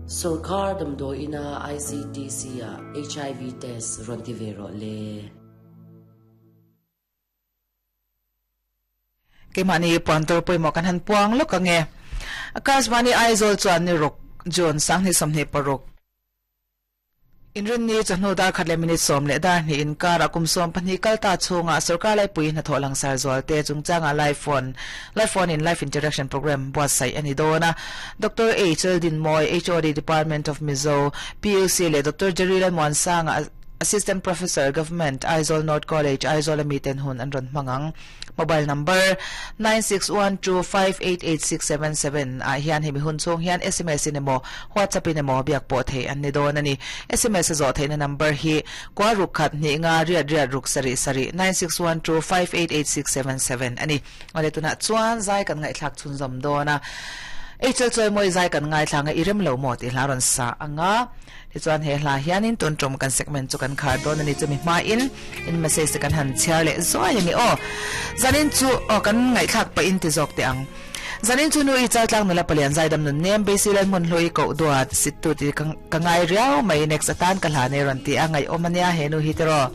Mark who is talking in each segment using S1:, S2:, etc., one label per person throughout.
S1: Sorkar damdawi ina ICTC ah HIV test rawn ti ve rawh le.
S2: Keimahni puan tur pawimawh kan han puang lawk ang e. Akashvani Aizawl chuan ni ruk June 2026. Inrinni chawhnu dar khat leh minute sawm leh dar hnih inkarah kum 12 kal ta chhunga sorkar laipui hnathawh langsar zualte chungchanga live phone live phone in live interaction program buatsaih a ni dawn a. Doctor H Laldinmawi, HOD Department of Mizo, PUC leh Doctor Jerry Lalmuansanga, Assistant Professor, Government, Aizawl North College, Aizawl a miten hun an rawn hmang ang. Mobile number, 9612588677 ah hian hemi hun chhung hian sms in emaw WhatsApp in emaw biak pawh theih an ni dawn a ni. Sms a zawh theihna number hi kua ruk khat hnih nga riat riat ruk sarih sarih, 9612588677 a ni. Awle tunah chuan zai kan ngaihthlak chhunzawm dawn a. HL Chawimawi zai kan ngaithla ang a, i rem lo maw tih hla rawn sa ang a. Tichuan he hla hianin tun tum kan segment chu kan khar dawn a ni chumi hmain in message te kan han chhiar leh zuai a ni aw. Zanin chu aw kan ngaihthlak pah in ti zawk teh ang. Zanin chu nu i chaltlang nula palian zaidam nun nem Basic lal hmun hlui koh duat sit tu ti ka ngai riau mai next atan ka hla nei rawn ti a ngaihawm a nia he nu hi tiraw.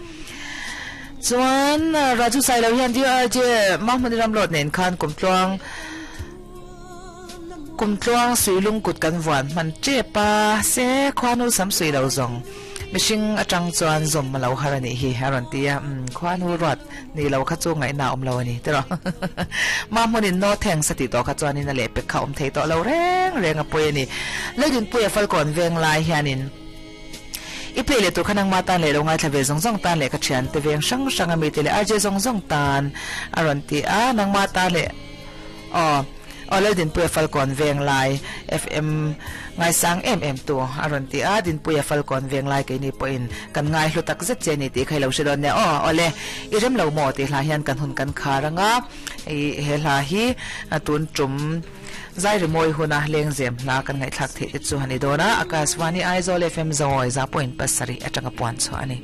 S2: Chuan Raju Sailo hian DRJ Mahmuni Ramlawt nen khan kumtluang Kumtluang suilung kut kan vuan hman tep a, se khuanu sam sui lo zawng mihring atang chuan zawm a lo har a nih hi a rawn ti a, umm khuanu ruat ni lo kha chu ngaihna a awm lo a ni tiraw. Ma hmunin no thanks a tih tawh kha chuanin a lehpek kha awm thei tawh lo reng reng a pawi a ni. Leidinpuia Falkawn veng lai hianin i play leh tur kha nangma tan leh lo ngaithla ve zawng zawng tan leh ka thiante veng hrang hrang a mite leh RJ zawng zawng tan a rawn ti a, nangma tan leh Aw, aw Laldinpuia Falkawn Venglai FM ngaisang em em tu a rawn ti a, Dinpuia Falkawn Venglai keini pawhin kan ngai hlu tak zet che a ni tih kha i lo hre dawn nia. Aw, awle, i rem lo maw tih hla hian kan hun kan khar ang a, i he hla hi tun tum zai rimawi huna lengzem hla kan ngaihthlak theih te chu a ni dawn a, Akashvani Aizawl FM Zawi za point pasarih atanga puan chhuah a ni.